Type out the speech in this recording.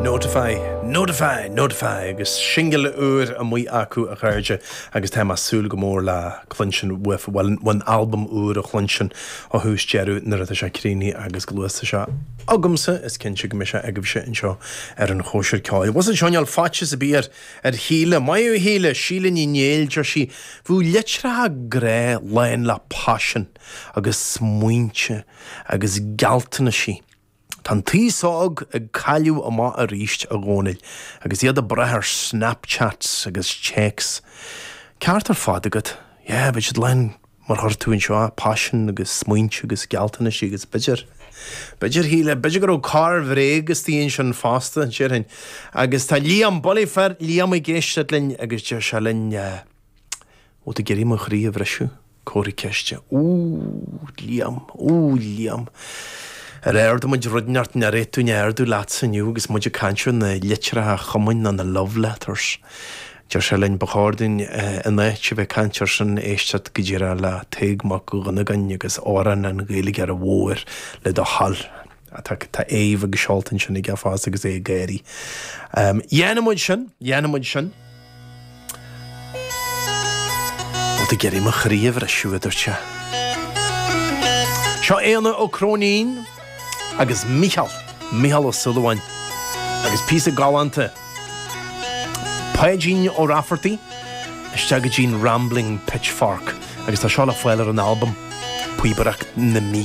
Notify, Notify, Notify agus singil úr amuigh acu a chairde agus tá mé ag súil go mór le cluinstin uaibh, bhuel an albam úr a chluinstin ó thús deireadh nuair atá sé críochnaithe agus go luath tá sé agamsa is cinnte go mbeidh sé agaibhse anseo ar an Chóisir Ceoil. Bhfuil a fhios agat níl faitíos ar bith ar ar Shíle, maith thú a Shíle, Síle Ní Néill, deir sí, bheadh litreacha grá lán le paisean agus smaointe agus gealltanaisí. Tá an t-aos óg ag cailleadh amach arís, a Dhónaill, agus iad ag brath ar Snapchats agus téacs. Ceart ar fad agat. Yeah, bheadh siad lán, mar a chuir tú anseo, paisean agus smaointe agus gealltanaisí agus b'fhéidir, b'fhéidir, Shíle, b'fhéidir go raibh corr-bhréag istigh ansin fosta, déarfainn. Agus tá Liam, buile fear, Liam ag éisteacht linn agus deir sé linn, eh, Bhfuil tú ag iarraidh mo chroí a bhriseadh? Comhartha ceiste. Ooh, Liam, ooh, Liam. Ar ardaigh muid rud inteacht nach raibh tú in ardú leatsa inniu agus muid ag caint ar na litreacha chumainn nó na love letters. Deir sé linn, ba chóir dúinn in áit a bheith ag caint ar sin éisteacht go díreach le Tadhg Mac Dhonnagáin agus Amhrán an Ghaeilgeora Mhóir le do thoil. Tá aoibh agus seolta ansin aige fosta agus é ag gáirí. Dhéanfaidh muid sin, dhéanfaidh muid sin. Bhfuil tú ag iarraidh mo chroí a bhriseadh, a dúirt sé. Seo Éanna Ó Cróinín agus Mícheál, Mícheál Ó Súilleabháin agus píosa galánta Páidín Ó Raifeartaigh isteach go dtí'n Rambling Pitchfork agus tá seo le fáil ar an albam Píobaireacht na Mí.